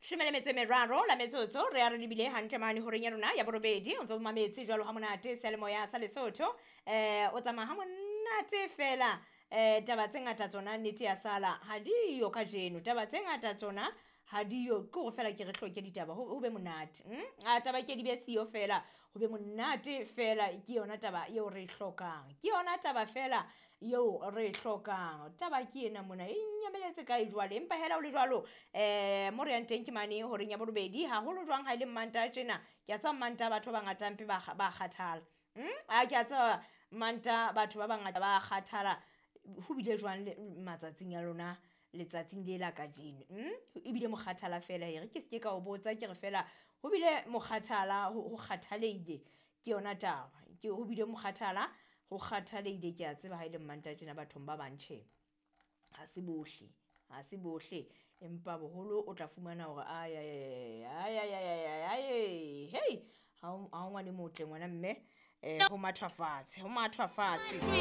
13 la metsotso re ya re lebile hantle mane horeng ya rona ya borobedi. O ntse o mametse jwalo ha monate seyalemoya sa Lesotho. O tsamaya ha monate fela. Taba tse ngata tsona nnete ya sala ha diyo kajeno. Taba tse ngata tsona ha diyo, ke hore fela ke re hloke ditaba ho be monate. A taba ke di be siyo fela, ho be monate fela, ke yona taba eo re e hlokang. Ke yona taba fela eo re e hlokang. Taba ke ena mona e nyameletse kae jwale, empa hela ho le jwalo mo re yang teng ke mane horeng ya borobedi, haholo jwang ha e le Mmantaha tjena. Ke a tseba Mmantaha batho ba bangata mpe ba kgathala. A ke a tseba Mantaha batho ba bangata ba kgathala. Ho bile jwang matsatsing a lona letsatsing le la kajeno? Ebile mokgathala fela, e re ke se ke ka o botsa, ke re fela ho bile mokgathala, ho kgathaleile, ke yona taba. Ke ho bile mokgathala, ho kgathaleile. Ke a tseba ha e le Mmantaha tjena bathong ba bang, tjhe, ha se bohle, ha se bohle, empa boholo o tla fumana hore ay ay ay ay ay ay ay, hey, ha o ngwane motle ngwana mme, ho mathwa fatshe, ho mathwa fatshe.